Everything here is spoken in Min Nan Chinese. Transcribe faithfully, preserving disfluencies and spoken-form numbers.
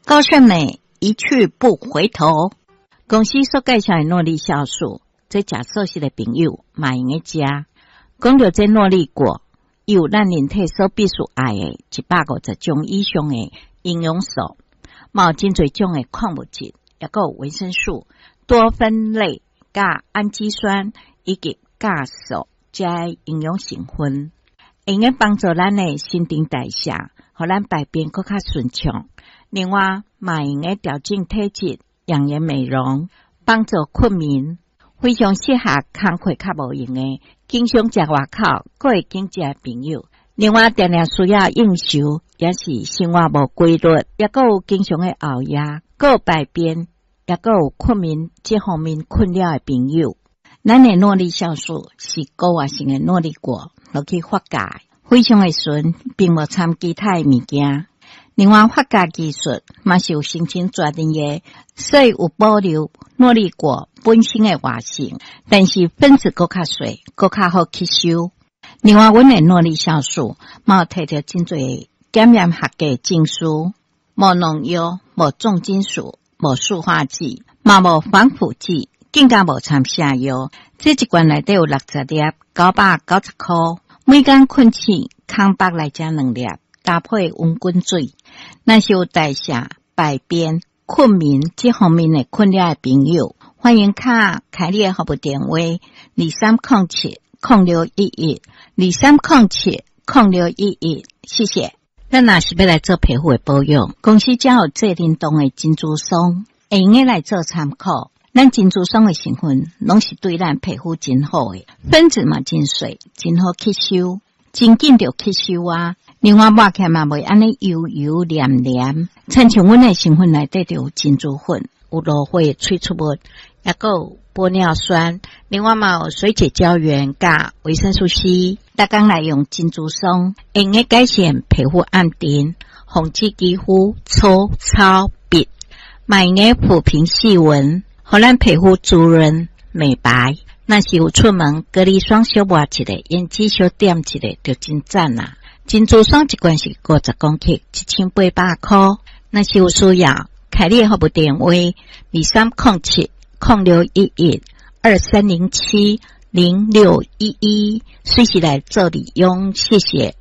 高勝美一去不回頭。公司所介紹的諾麗酵素，這食素食的朋友嘛會用得食。講著這諾麗果，有咱人體所必須愛的一百五十種以上的營養素，嘛有真濟種的礦物質，抑閣有維生素、多酚類、佮氨基酸以及鉀素這營養成分，會用幫助咱的新陳代謝，予咱排便閣較順暢。另外，嘛會用調整體質、養顏美容、幫助睏眠，非常適合工課較無閒的、經常食外口、閣會緊食的朋友。另外，定定需要應酬，也是生活無規律，抑閣有經常的熬夜、閣有排便，抑閣有睏眠這方面困擾的朋友。咱的諾麗酵素是高活性的諾麗果落去發酵，非常的純，並無摻其他的物件。另外，發酵技術嘛是有申請專利的，所以有保留諾麗果本身的活性，但是分子閣較細，閣較好吸收。另外，阮的諾麗酵素嘛有提著真濟檢驗合格證書，無農藥、無重金屬、無塑化劑，嘛無防腐劑，更加無摻瀉藥。這一罐內底有六十粒，九百九十箍。每工睏醒，空腹來食兩粒，搭配溫滾水。若是有代謝、排便、睏眠這方面的困擾的朋友，歡迎敲凱莉的服務電話：二三空七空六一一，二三空七空六一一。謝謝。咱若是欲來做皮膚的保養，公司才有濟靈凍的珍珠霜，會用得來做參考。咱珍珠霜的成分，攏是對咱皮膚真好的，分子嘛真細，真好吸收，真緊就吸收啊。另外抹起來嘛袂按呢油油黏黏，親像阮的成分內底就有珍珠粉，有蘆花萃取物，抑閣有玻尿酸，另外嘛有水解膠原佮維生素 C。逐工來用珍珠霜，會用得改善皮膚暗沉，防止肌膚粗糙癟，嘛會用得撫平細紋，予咱皮膚滋潤美白。若是有出門，隔離霜小抹一下，胭脂小點一下，就真讚啦。珍珠霜一罐是五十公克，一千八百箍。若是有需要，凱莉的服務電話：二三空七空六一一二三零七零六一一，隨時來做利用。謝謝。